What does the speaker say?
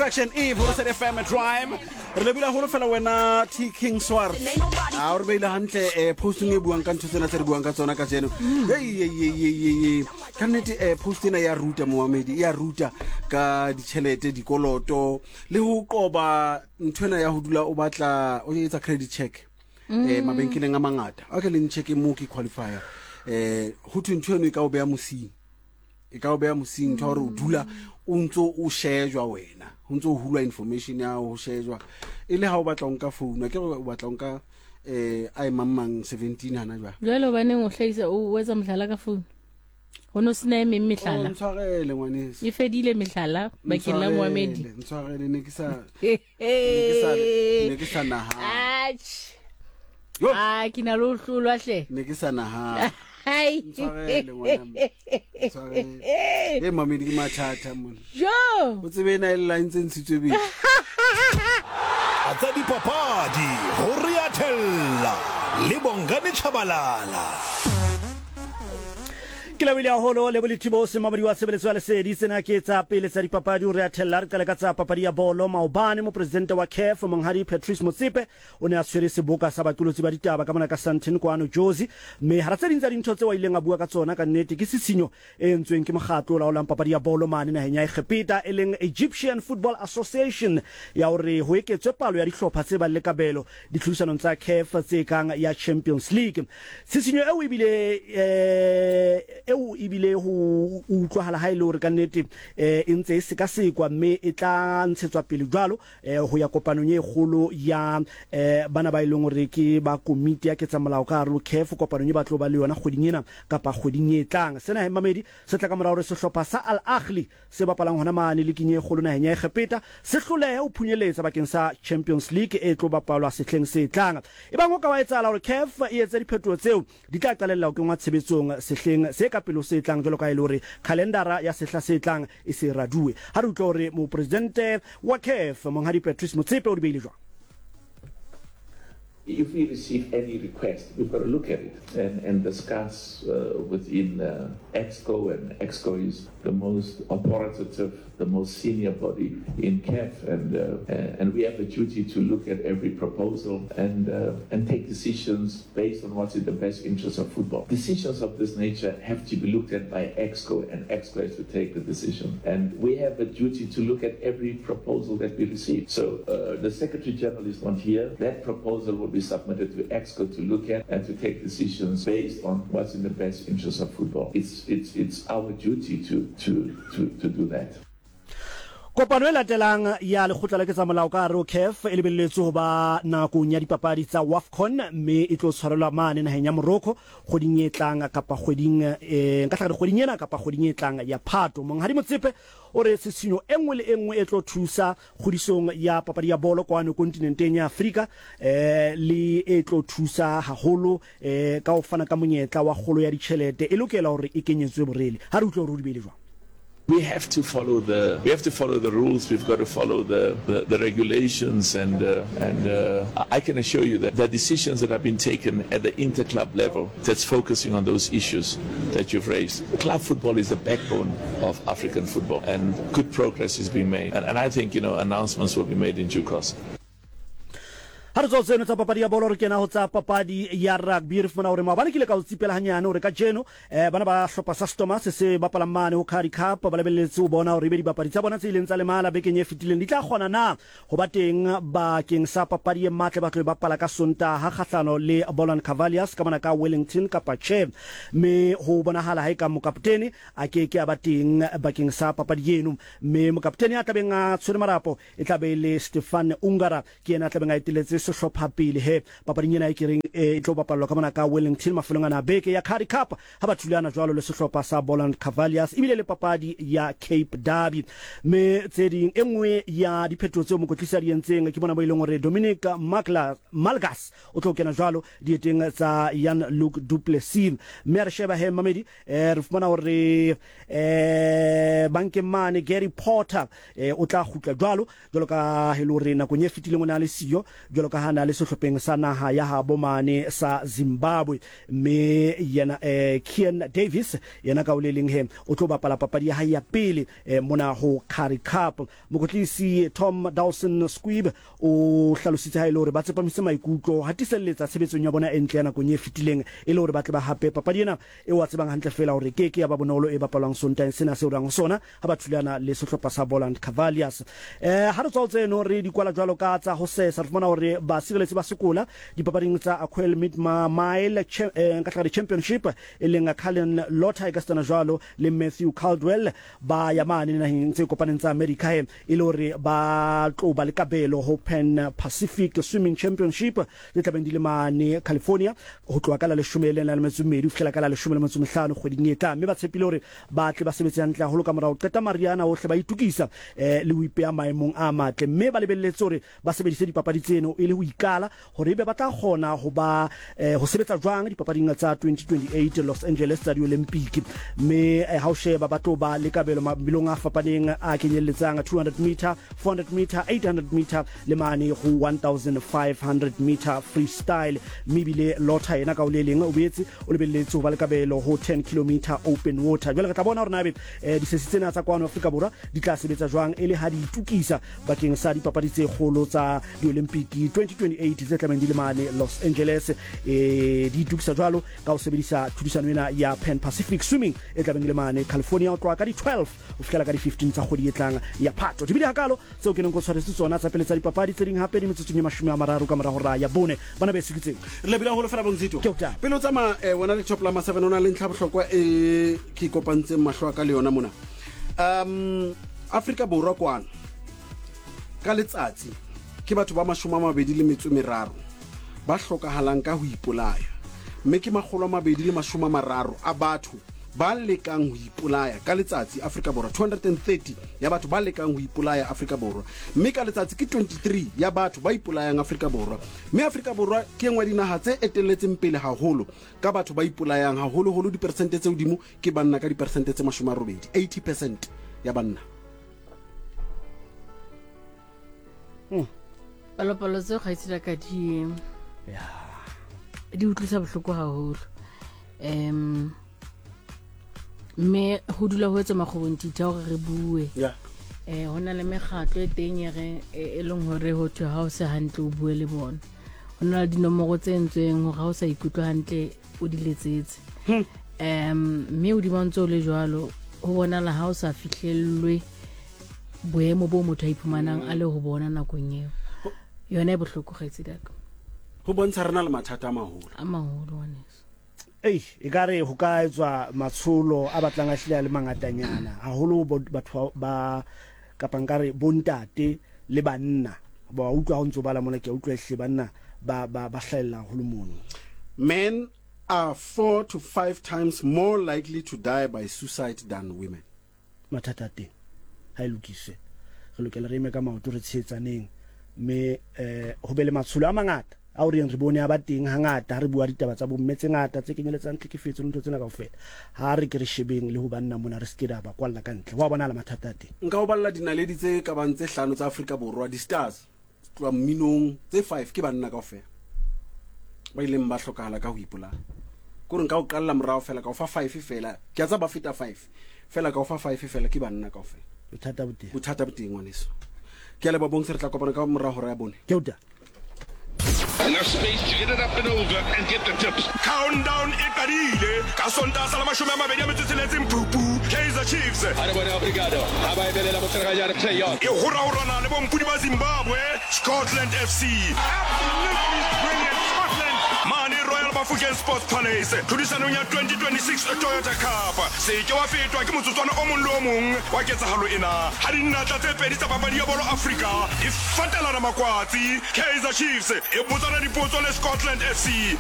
Section E Volosed FM Drive re lebile haholo fela wena T King Swart a o re beile hantle eh posting e buang ka ntho tsena tse re buang ka tsona kajeno hey hey hey hey hey ka nnete eh post ena ya ruta moamedi ya ruta ka ditšhelete dikoloto le ho qoba ntho ena ya ho dula o batla o etsa credit check eh mabenkeleng a mangata okay le ncheke mo ke qualifier eh ho thwe ntho eno e ka o beya mosing e ka o beya mosing ntho ya gore o dula o ntse o shejwa wena o ntse o hulwa information ya ho shejwa e le ha o batla o nka founu ke o batla o nka eh a e mang mang 17 hana jwale. Jwale hobaneng o hlahisa o etsa mohlala ka founu? Ho no sena e meng mehlala. Oh, ntshwarele ngwaneso. E fedile mehlala bakeng la moamedi. Ntshwarele ne ke sa ne ke sa ne ke sa nahana. Atjhe. A ke na le ho hlolwa hle. Ne ke sa nahana. Hai. Ntshwarele ngwana. Ntshwarele. E mamedi ke mathata mona. Jo. O tsebe ena e lla e ntse ntshitswe bele. Tsa dipapadi go re a thella le Bongani Tshabalala. Ke lebohile haholo Lebo Lethibose, momamedi wa tshebeletso ya Lesedi. Tsena ke tsa pele tsa dipapadi ho re a thella. Re qale ka tsa papadi ya bolo. Maobane mopresidente wa CAF Monghadi Patrice Motsepe O ne a tshwere seboka sa baqolotsi ba ditaba ka mona ka Sandton kwano Jozi, mme hara tse ding tsa dintho tseo a ileng a bua ka tsona ka nnete ke tshitshinyo e entsweng ke mokgatlo o laolang papadi ya bolo mane naheng ya Egepeta e leng Egyptian Football Association ya hore ho eketswe palo ya dihlopha tse bang le kabelo ditlhodisanong tsa CAF tse kang ya Champions League. Tshitshinyo eo ebile eo ebile ho utlwahala ha e le hore ka nnete e ntse e sekasekwa mme e tla ntshetswa pele jwalo eh, ho ya kopanong e kgolo ya eh, bana ba e leng hore ke ba komiti ya ketsamolao ka hare ho CAF, kopanong e ba tlo ba le yona kgweding ena kapa kgweding e tlang. Sena he mamedi se tla ka mora hore sehlopha sa Al Ahly se bapalang hona mane liking e kgolo naheng ya Egepeta se hlolehe ho phunyeletsa bakeng sa Champions League e tlo bapalwa sehleng se tlang. Ebang ho ka wa etsahala hore CAF e etse diphetoho tseo, Di tla qalella ho kenngwa tshebetsong sehleng se ka pele ho se tlang jwalo ka ha e le hore khalendara ya sehla se tlang e se e raduwe. Ha re utlwe hore Mopresidente wa CAF, Monghadi Patrice Motsepe o di beile jwang. If we receive any request, we've got to look at it and, and discuss within EXCO, and EXCO is the most authoritative, the most senior body in CAF, and, and we have a duty to look at every proposal and, and take decisions based on what's in the best interest of football. Decisions of this nature have to be looked at by EXCO, and EXCO has to take the decision. And we have a duty to look at every proposal that we receive. So uh, the Secretary General is not here. That proposal will be submitted to EXCO to look at and to take decisions based on what's in the best interest of football. It's, it's, it's our duty to, to, to, to do that. Kopano e latelang ya lekgotla la ketsamolao ka hare ho CAF e lebelletswe ho ba nakong ya dipapadi tsa WAFCON mme e tlo tshwarelwa mane naheng ya Morocco kgweding e tlang kapa kgweding eh, nka hlaka kgweding ena kapa kgweding e tlang ya Phato. Monghadi Motsepe o re tshisinyo e nngwe le e nngwe e tlo thusa kgodisong ya papadi ya bolo kwano kontinenteng ya Afrika eh, le e tlo thusa haholo eh, ka ho fana ka monyetla wa kgolo ya ditjhelete e lokela hore e kenyetswe borele. Ha re utlwe hore o di beile jwang. We have to follow the we have to follow the rules, we've got to follow the the, the regulations and uh, and uh, I can assure you that the decisions that have been taken at the interclub level that's focusing on those issues that you've raised. Club football is the backbone of African football and good progress is being made and, and I think you know announcements will be made in due course. Ha re tswa ho tseno tsa papadi ya bolo re kena ho tsa papadi ya rugby. Re fumana hore maobane ke ile ka o tsipela hanyane hore kajeno eh, bana ba hlopha sa Stormers se bapalang mane ho Currie Cup ba lebelletse ho bona hore ebe dibapadi tsa bona tse ileng tsa lemala bekeng e fetileng di tla kgona na ho ba teng bakeng sa papadi e matla ba tlo e bapala ka Sontaha kgahlano le Boland Cavaliers ka mona ka Wellington kapa tjhe. Mme ho bonahala ha eka mokaptene a ke ke a ba teng bakeng sa papadi eno, mme mokaptene ya tlabeng a tshwere marapo E tla be e le Stefan Ungara, ke yena a tlabeng a eteletse sehlopha pele he papading ena e ke reng e tlo bapallwa ka mona ka Wellington mafelong ana a beke ya Currie Cup ha ba thulana jwalo le sehlopha sa Boland Cavaliers ebile le papadi ya Cape Derby. Mme tse ding e nngwe ya diphetoho tseo mokotlisi a di entseng ke mona mo e leng hore Dominic Malgas o tlo kena jwalo dieteng tsa Jan Luc du Plessis. Mme a re sheba he mmamedi eh, re fumana hore eh, bankeng mane Gary Porter eh, o tla kgutla jwalo jwalo ka he le hore nakong e fetileng o ne a le siyo jwalo. jwalo ka ha na le sehlopheng sa naha ya habo mane sa Zimbabwe. Mme yena Kean Davis yena ka ho le leng he o tlo bapala papadi ya hae ya pele mona ho Currie Cup. Mokwetlisi Tom Dawson Squibb o hlalositse ha e le hore ba tsepamise maikutlo ho hatiselletsa tshebetsong ya bona e ntle ya nakong e fetileng e le hore ba tle ba hape papadi ena eo a tsebang hantle feela hore e ke ke ya ba bonolo e bapalwang Sontaheng sena seo re yang ho sona ha ba thulana le sehlopha sa Boland Cavaliers. Ha re tswa ho tseno re di kwala jwalo ka tsa ho sesa, re fumana hore basireletsi ba sekola dipapading tsa Aquel Midmar Mile nka hlaka di-championship e leng Cullen Lotter ekasitana jwalo le Matthew Caldwell ba ya mane naheng tse kopaneng tsa Amerika he e le hore ba tlo ba le kabelo ho Pan Pacific Swimming Championship tse tlabeng di le mane California ho tloha ka la 12 ho fihlela ka la 15 kgweding e tlang, mme ba tshepile hore ba tle ba sebetse hantle haholo ka mora ho qeta mariha ana ohle ba itokisa le ho ipeha maemong a matle, mme ba lebelletse hore ba sebedise dipapadi tseno e le ho ikala hore ebe ba tla kgona ho ba ho sebetsa jwang dipapading tsa 2028 Los Angeles tsa Diolimpiki. Mme ha o sheba ba tlo ba le kabelo mabelong a fapaneng a kenyelletsang 200 meter, 400 meter, 800 meter le mane ho 1500 meter freestyle. Mme ebile Lotter yena ka ho le leng o boetse o lebelletse ho ba le kabelo ho 10 kilometer open water. Jwale re tla bona hore na ebe disesi tsena tsa kwano Afrika Borwa di tla sebetsa jwang e le ha di itokisa bakeng sa dipapadi tse kgolo tsa Diolimpiki 2028 tse tlabeng di le mane Los Angeles. E, di itokisa jwalo ka ho sebedisa tlhodisano ena ya Pan Pacific Swimming e tlabeng e le mane California ho tloha ka di-12 ho fihlela ka di-15 tsa kgwedi e tlang ya Phato. Di bile hakalo tseo ke neng ko tshwaretse tsona tsa pele tsa dipapadi, tse ding hape di metsotsong e 30 ka mora hora ya bone. Bana beso ke tseo. Re lebile haholo fela Bonzito. Ke o taba. Pele o tsamaya eh, wena le Top Lama 7 o na le ntlha bohlokwa e ke kopantseng mahlo a ka le yona mona. Um Afrika Borwa kwano ka letsatsi ke batho ba 23 ba hlokahalang ka ho ipolaya, mme ke 230 a batho ba lekang ho ipolaya ka letsatsi Afrika Borwa, 230 ya batho ba lekang ho ipolaya Afrika Borwa, mme ka letsatsi ke 23 ya batho ba ipolayang Afrika Borwa. Mme Afrika Borwa ke e nngwe ya dinaha tse etelletseng pele haholo ka batho ba ipolayang, haholoholo diperesente tse hodimo ke banna ka diperesente tse 80, 80 percent ya banna. Palopalo tseo kgaitsedi ka di di utlwisa bohloko haholo. Mme ho dula ho etswa makgobontitha hore re bue. Ho na le mekgatlo e teng e re e leng hore ho thwe ha o se hantle o bue le bona. Ho na le dinomoro tse entsweng hore ha o sa ikutlwe hantle o di letsetse. Mme hodima ntse o le jwalo ho bonala ha o sa fihlellwe boemo bo motho a iphumanang a le ho bona nakong eo. Yona e bohloko kgaitsedi ya ka. Ho bontsha re na le mathata a maholo. A maholo ngwaneso. Ei, e ka re ho ka etswa matsholo a batlang a hlile a le mangatanyana haholo batho ba kapa nkare bontate le banna. Ba utlwa ha o ntso bala mona, ke a utlwa ehlile banna ba ba ba hlahella haholo mono. Men are 4 to 5 times more likely to die by suicide than women. Mathata a teng ha e lokiswe. Re lokela re eme ka maoto re tshehetsaneng mme ho be le matsholo a mangata ao re yeng re bone a ba teng hangata ha re bua ditaba tsa bomme tse ngata tse kenyeletsang tlhekefetso le ntho tsena kaofela. Ha re ke re shebeng le ho banna mona re se ke ra ba kwalla ka ntle. Ho a bonahala mathata a teng. Nka o balla dinaledi tse ka bang tse hlano tsa Afrika Borwa, di-stars, tloha mminong, tse 5 ke banna kaofela ba ileng ba hlokahala ka ho ipolaya. Ke hore nka o qalla morao fela ka o fa 5 fela, ke a tseba ba feta 5 fela, ka o fa 5 fela ke banna kaofela. Bothata bo teng. Bothata bo teng ngwaneso. Ke a leboha Bongs, re tla kopana ka mora hora ya bone. Ke o ta. Enough space to get it up and over and get the tips. Countdown e qadile ka Sontaha sa la 26 Phupu. Kaizer Chiefs A re bone Obrigado ha ba emelela motshegajane play on. e horahorana le bompudi ba Zimbabwe, Scotland FC. Absolutely brilliant Scotland. Mane Royal Bafokeng Sports Palace tlhodisanong ya 2026 Toyota Cup. Se ke wa fetwa ke motsotswana o mong le o mong wa ketsahalo ena ha dinatla tse pedi tsa papadi ya bolo Afrika di fatelana makwatsi. Kaizer Chiefs e botsana dipotso le Scotland FC.